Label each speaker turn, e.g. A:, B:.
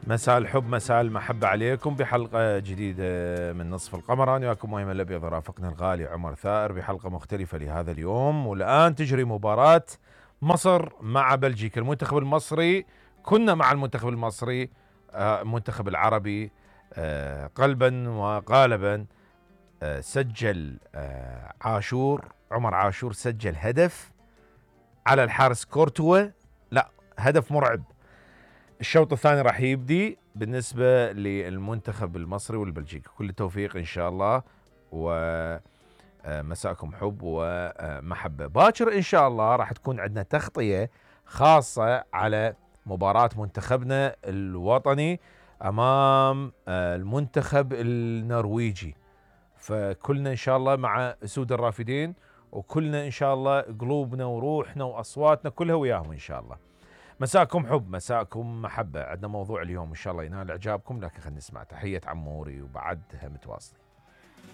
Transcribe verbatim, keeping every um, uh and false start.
A: مساء الحب مساء المحبة عليكم بحلقة جديدة من نصف القمر. أنا وياكم مهم الأبيض رافقنا الغالي عمر ثائر بحلقة مختلفة لهذا اليوم. والآن تجري مباراة مصر مع بلجيكا. المنتخب المصري كنا مع المنتخب المصري المنتخب العربي قلبا وقالبا. سجل عاشور عمر عاشور سجل هدف على الحارس كورتوا، لا هدف مرعب. الشوط الثاني راح يبدي بالنسبة للمنتخب المصري والبلجيكي. كل التوفيق إن شاء الله، ومساءكم حب ومحبة. باكر إن شاء الله راح تكون عندنا تغطية خاصة على مباراة منتخبنا الوطني أمام المنتخب النرويجي. فكلنا إن شاء الله مع أسود الرافدين، وكلنا إن شاء الله قلوبنا وروحنا وأصواتنا كلها وياهم إن شاء الله. مساءكم حب مساءكم محبة. عندنا موضوع اليوم إن شاء الله ينال إعجابكم، لكن خلينا نسمع تحية عموري وبعدها متواصلين.